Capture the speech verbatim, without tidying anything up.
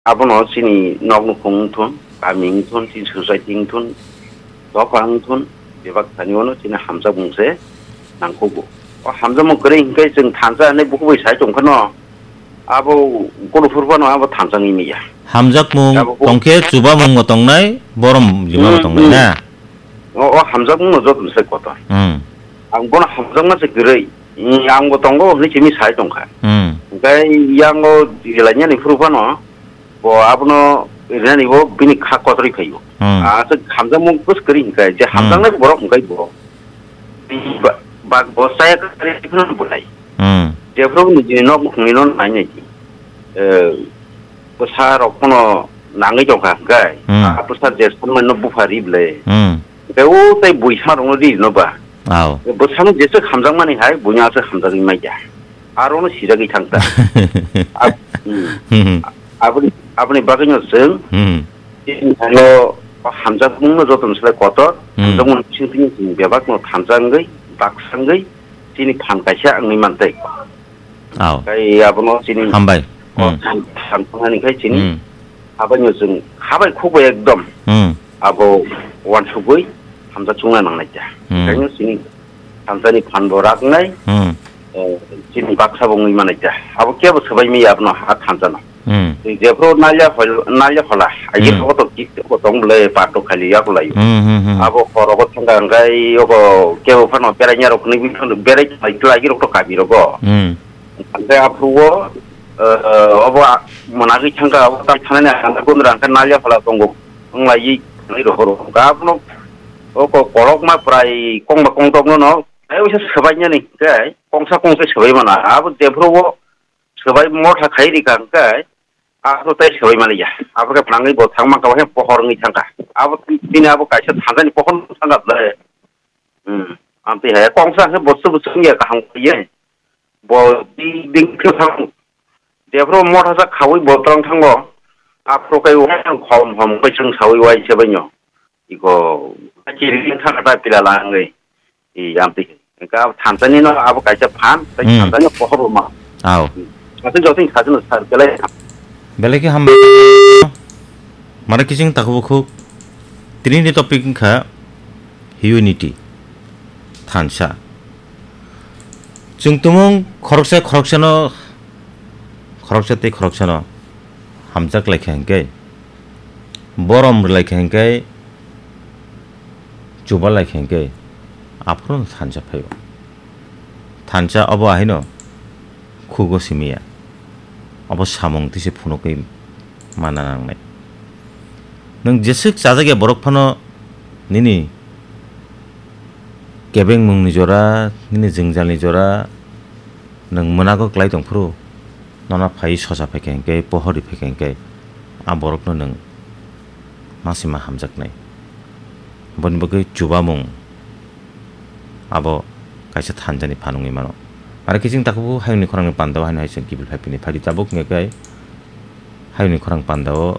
Abono chini nok nukhung wngthun, kami wngthun, chini society wngthun, dopha wngthun, bebak thani ono chini hamjakmung se nangkukgo. O hamjakmung kwrwi hinkhe chwng thansa hinwi bukhuk bai sai tongkhano, abo golophur phano abo thansa wngwi manya. Hamjakmung Abo bo- tongkhe chubamungo tongnai, borom limabo Hmm, tongnai hmm. na? O, o hamjakmungno joto sai kotor. Hmm. Ang bono hamjakma se kwrwi. Hmm, angbo tongo hinwi simi sai tongkha. Hmm. Hinkhe yango rilainani phuru phano bo abono rinani bo bini kha kotorwi phaio. Hmm. Ah, se hamjakmung bwswk kwrwi hinkhe je Hmm. hamjaknai borok hinkhe bo. Ba, ba, bo saya kwrwi phano bolai. Hmm. Jephuru nijini nok nukhungni no nai nai. Eh, bwsa rok phano nangwi tongkha hinkhe. Hmm. Ah, bwsa je sanmano bupha ri bwle. Hmm. Hinkhe o tei bui sa rokno ri no ba. Ao. Bwsano jeswk hamjakmani hai, buino aswk hamjagwi manya. Arono sijagwi thangkha. Ab-, hmm. Hmm. Aboni, aboni bagwino chwng Hmm. chini thaio hamjakmungno jotono slai kotor, Hmm. hamjakmung bisingtwi chini bebakno thansa wngwi, baksa wngwi, chini phan kaisa wngwi mantwi. Ao. Tei abono chini Hambai. o Hmm. than-, thansa wngnani khai chini Hmm. habaino chwng habai khukbai ekdom Hmm. abo uansukgwi hamjak chungna nangnai ta. Hmm. Onkhaino chini thansani phan bo raknai, Hmm. eh, chini baksa bo wngwi manai ta. Abo kebo swbai maya abono ha thansano. Hmm. Tei jephuru nalya hol-, nalya hola, aigir Hmm. rogo to kis ko tong bwle parto khali yak lai. Hmm, hmm, hmm. Abo khorogo thangka hwnkhe yogo kebo phano beraina rok hwnwi phano berai lai khlai rok to kami rogo. Hmm. Hwnkhe aphuru o, eh, obo a-, mwnagwi thangka abo tam thanani ang khe gundra hwnkhe nalya hola tongo. Wng lai yi nai rohoro. Hwnkhe abono o ko-, kolokma prai kongba kongtokno no, ai uisa swbainani hwnkhe kongsa kongsa swbai mana. Abo jephuru o swbai motha khai rikha hwnkhe, abo tei swbai maliya. Abo khe phnangwi bo thangma khe pohor wngwi thangkha. Abo tini abo kaisa thanjani pohor thangkha ble. Hmm. Amtwi hai kongsa khe bo chubu chungya kaham kaiye. Bo di ding khe thang. Jephru motha sa khawi bo twlang thango. Aphru kai wa khom hom kai chwng sawi wai se bainyo. Iko chiri thang ta pila langwi. I amtwi. Ka thansani no abo kaisa phan, tai Hmm. thansani pohor ma. Ao. Ati joting sajino sar belai. Belai khe hambai. Mara kiching takubo khuk. Tini ni topic wngkha unity. Thansa. Chwng tumung khoroksa khoroksano, khoroksa tei khoroksano hamjak lai kha hwnkhe, borom rwlai kha hwnkhe, chuba lai kha hwnkhe, aphuru thansa phaio. Thansa obo ahino khugo simiya. Obo samung tise phunukwi mana nangnai. Nwng jeswk chajakya borok phano nini kebengmungni jora, nini jwngjalni jora, nwng mwnago klai tongphuru, nono phai sosa phaikha hwnkhe, pohorwi phaikha hwnkhe, a borokno nwng masima hamjaknai. Boni bagwi chubamung abo kaisa thanjani phan wngwi mano. Aro kiching takhuk hayungni khorangni pandao haino hai chwng kiphil phai phini phaidi tabuk wngya khe hayungni khorang pandao